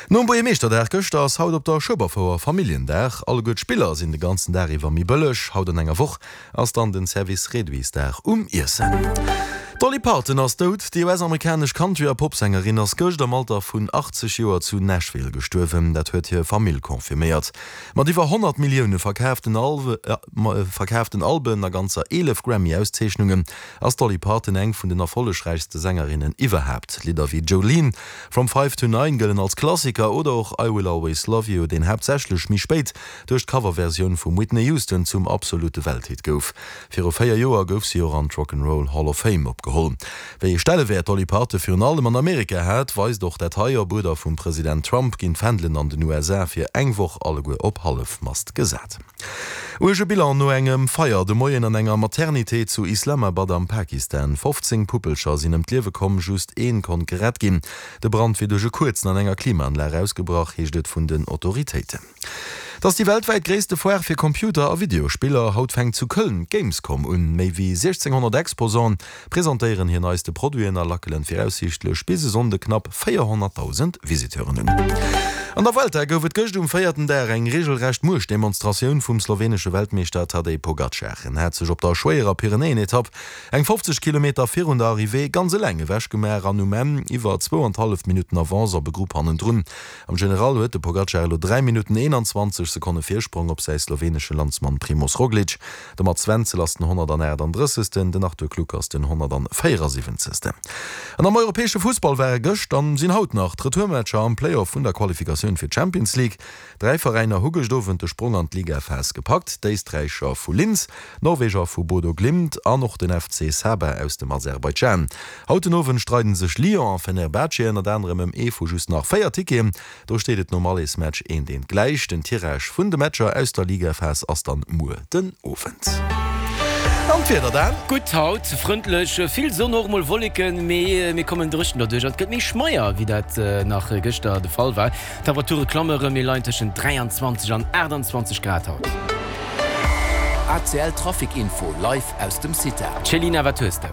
Nom Buergermeeschterdag gëschter ass haut op der Schueberfouer Familljendag. Alleguer d'Spiller sinn de ganzen Dag iwwer méi bëlleg. Haut an enger Woch ass dann den Service Réduitsdag um Iessen. D'Dolly Parton ass dout. Déi US-amerikanesch Country a Popsängerin ass gëscht am Alter vun 80 Joer zu Nashville gestuerwen. Dat huet hir Famill confirméiert. Mat iwwer 100 Millioune verkaaften Alben a ganzer 11 Grammy-Auszeechnungen ass d'Dolly Parton eng vun den erfollegräichste Sängerinnen iwwerhaapt. Lidder wéi Jolene, From Five to Nine gëllen als Klassiker oder och I Will Always Love You, deen haaptsächlech méi spéit duerch d'Coverversioun vum Whitney Houston zum absolute Welthit gouf. Viru 4 Joer gouf si och an d'Rock 'n' Roll Hall of Fame opgeholl. Wéi ee Stellewäert d'Dolly Parton virun allem an Amerika hat, weist och dat hei. Op Uerder vum President Trump ginn d'Fändelen an den USA fir eng Woch alleguer op Hallefmast gesat. Uerge Bilan no engem Feier de Moien an enger Maternité zu Islamabad am Pakistan. 15 Puppelcher sinn ëm d'Liewe komm, just een konnt gerett ginn. De Brand wier duerch e Kuerzen an enger Klimaanlag ausgebrach, heescht et vun den Autoritéiten. Et ass déi weltwäit gréisste Foire fir Computer a Videospiller. Haut fänkt zu Köln d'Gamescom un. Méi wéi 1.600 Exposanten presentéieren hir neiste Produiten a lackelen viraussiichtlech bis e Sonnde knapp 400.000 Visiteuren un. An der Vuelta gouf et gëscht um véierten Dag eng reegelrecht Muechtdemonstratioun vum slowenesche Weltmeeschter Tadej Pogacar. En hat sech op der schwéierer Pyrenäen-Etapp eng 50 Kilometer virun der Arrivée ganz eleng ewechgemaach an um Enn iwwer zwou an hallef Minutten Avance op e Grupp hannendrun. Am General huet de Pogacar elo 3 Minutten 21 Sekonne Virsprong op säi slowenesche Landsmann Primoz Roglic. De Mats Wenzel ass den 138. Den Arthur Kluck ass den 174. An am europäesche Fussball ware gëscht an sinn haut nach d'Retourmatcher am Playoff vun der Qualifikatioun fir d'Champions League. Dräi Veräiner hu gëscht Owend de Sprong an d'Ligaphas gepackt, d'Éisträicher vu Linz, d'Norweger vu Bodo Glimt an och den FC Sabah aus dem Aserbaidschan. Haut den Owend streiden sech Lyon a Fenerbahce ënnert anerem ëm ee vu just nach 4 Ticketen. Do steet et nom Allesmatch eent eent gläich. Den Tirage vun de Matcher aus der Ligaphas ass dann muer den Owend. An d'Wieder dann? Gutt haut, frëndlech, vill Sonn, och mol Wolleken, mee mir kommen dréchen derduerch an et gëtt méi schmeier wéi dat nach gëschter de Fall war. D'Temperature klamme rëm, mir leien tëschent 23 an 28 Grad haut. ACL Trafic Info live aus dem CITA. Céline, wat hues de?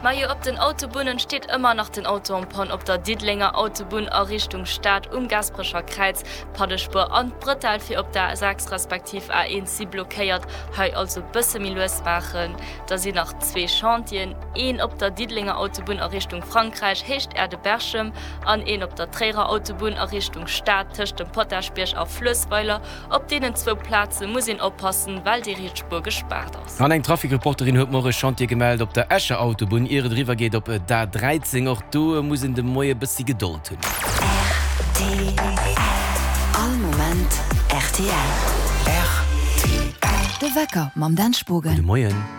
Majo, op den Autobunnen steet ëmmer nach den Auto en panne op der Diddelenger Autobunn a Richtung Stad um Gasperecher Kräiz. D'Pannespuer an d'Bretelle fir op der A6 respektiv A1 si blockéiert, hei also bësse méi lues maachen. Da sinn nach zwee Chantieren, een op der Diddelenger Autobunn a Richtung Frankräich, Héicht Aerdeberchem, an een op der Tréierer Autobunn a Richtung Stad tëscht dem Potaschbierg a Fluessweiler. Op deenen zwou Plaze muss een oppassen, well déi riets Spuer gespaart ass. An eng Trafic-Reporterin huet mer och e Chantier gemellt op der Escher Autobunn, ier et eriwwer geet op d'A13. Och do muss een de Moie bëssi Gedold hunn. Rtl, All Moment rtl. Rtl. De Wecker mam Dan Spogen. Gudde Moien.